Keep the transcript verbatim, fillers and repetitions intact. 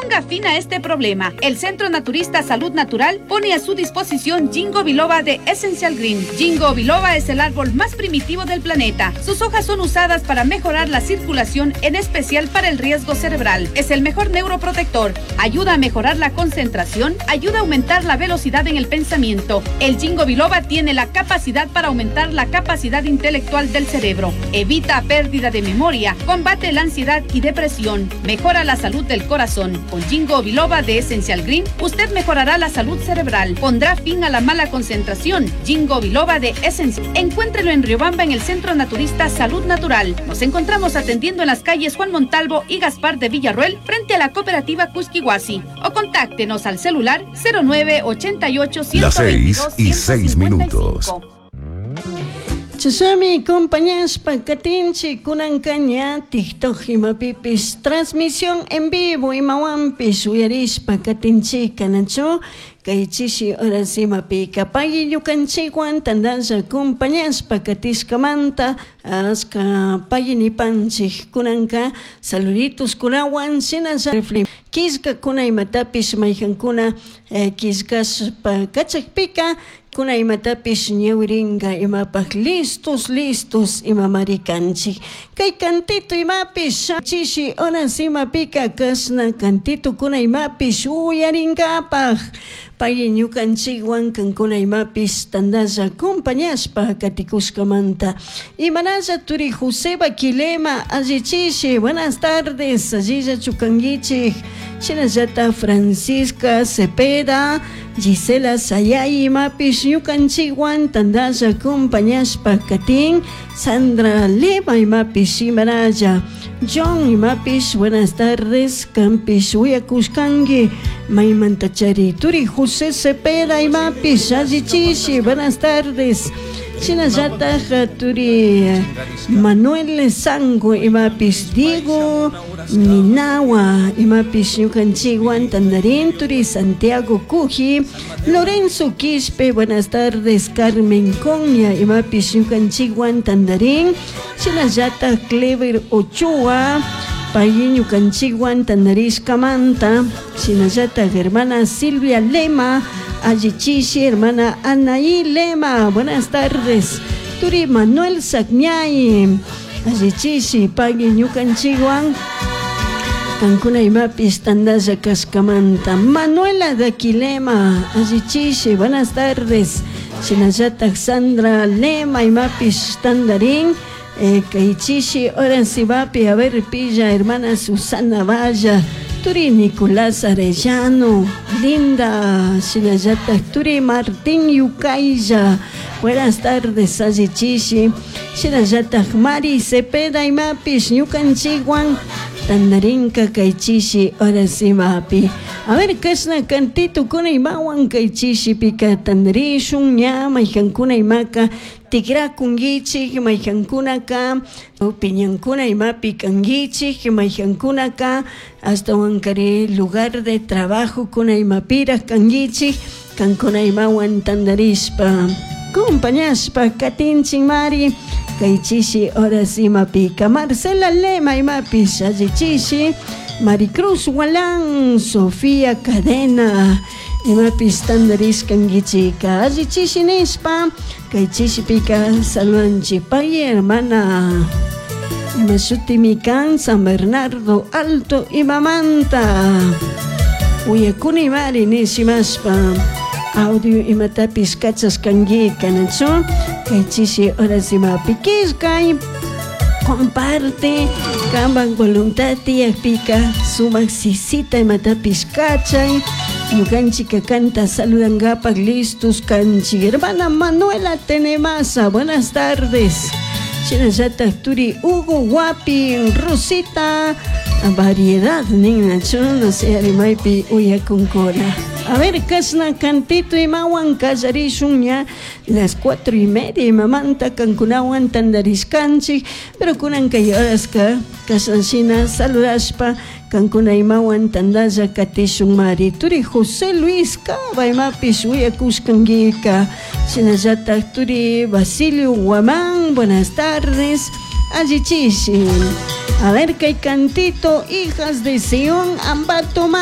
Ponga fin a este problema. El Centro Naturista Salud Natural pone a su disposición Ginkgo biloba de Essential Green. Ginkgo biloba es el árbol más primitivo del planeta. Sus hojas son usadas para mejorar la circulación, en especial para el riesgo cerebral. Es el mejor neuroprotector. Ayuda a mejorar la concentración, ayuda a aumentar la velocidad en el pensamiento. El Ginkgo biloba tiene la capacidad para aumentar la capacidad intelectual del cerebro. Evita pérdida de memoria, combate la ansiedad y depresión, mejora la salud del corazón. Con Ginkgo biloba de Essential Green, usted mejorará la salud cerebral, pondrá fin a la mala concentración. Ginkgo biloba de Essential. Encuéntrelo en Riobamba, en el Centro Naturista Salud Natural. Nos encontramos atendiendo en las calles Juan Montalvo y Gaspar de Villarroel, frente a la cooperativa Cusquihuasi. O contáctenos al celular cero nueve ochenta y ocho Las seis ciento veintidós y seis minutos. ciento cincuenta y cinco. Chasami compañaspa katinchi kunankaña TikTok imapipis transmisión en vivo imawampis uyarispa katinchi kanachu kay chishi horas imapika pagui ñukanchikwan tandalla compañaspa katiskamanta aska pagui nipanchik kunanka saluditos kunawan shinalla refli kiska kuna imatapis mayhankuna, eh, kiskaspa kachakpika kuna imatapis ñawiringa imapaj listos listos imamari kanchik kay cantito imapis chishi horas imapika kasna cantito kuna imapis uyaringapaj pay ñukanchikwan kankuna imapis tandalla compañaspa katikushkamanta imanalla turi Joseba Quilema allichishi buenas tardes allilla chukanguichik shinallata Francisca Cepeda Gisela Sayay imapis ñukanchikwan tandalla compañaspa katin Sandra Lema imapis imanalla John imapis buenas tardes campis uyakushkanki maymantachari turi José Cepeda imapis allichishi buenas tardes shinallata turi Manuel Sango imapis Diego Ninawa imapis ñukanchikwan tandarin turi Santiago Cuji Lorenzo Quispe buenas tardes Carmen Coña imapis ñukanchikwan tandarin shinallata Clever Ochoa Pay ñukanchikwan tandarishkamanta shinallata hermana Silvia Lema allichishi hermana Anaí Lema buenas tardes turi Manuel Sagñay allichishi pay ñukanchikwan kankuna imapis tandalla kashkamanta Manuela Daquilema allichishi buenas tardes shinallata Sandra Lema imapis tandarín eh, kaychishi horas imapi a ver pilla hermana Susana Valla turi Nicolás Arellano Linda shinallata turi Martín Yucaya buenas tardes allichishi shinallata Mari Cepeda imapis ñukanchikwan tandarinka kaychishi horas imapi a ver kashna cantito kuna imawan kaychishi pika tandarishun ña mayhankuna imaka tikrakunkichik mayhankunaka piñankuna imapi kankichik mayhankunaka ashtawankari lugar de trabajo kuna imapiraj kankichik kankuna imawan tandarishpa compañashpa katinchik mari kaychishi horas imapika Marcela Lema imapish allichishi Maricruz Walán Sofía Cadena imapis tandarishkankichika allichishi nishpa kaychishipika saludanchik pay hermana imashutimi kan San Bernardo Alto imamanta uyakuni mari nishimashpa audio imatapis kachashkankika nachu kaychishi horas imapi killkay comparte kanpak voluntad tiyakpika sumak sisita imatapis kachay ñukanchika kanta saludankapak listos kanchik hermana Manuela Tenemasa buenas tardes shinallata turi Hugo Guapi Rosita variedad ninachu no sé arimaypi uyakunkuna a ver kashna cantito imawan kallarishun ña las cuatro y media imamanta kankunawan tandarishkanchik pero kunan kay horaska kashna saludashpa kankuna imawan tandalla katishun mari turi José Luis Cava imapis uyakushkankika shinallata turi Basilio Guamán buenas tardes allichishi a ver kay cantito hijas de Sion Ambato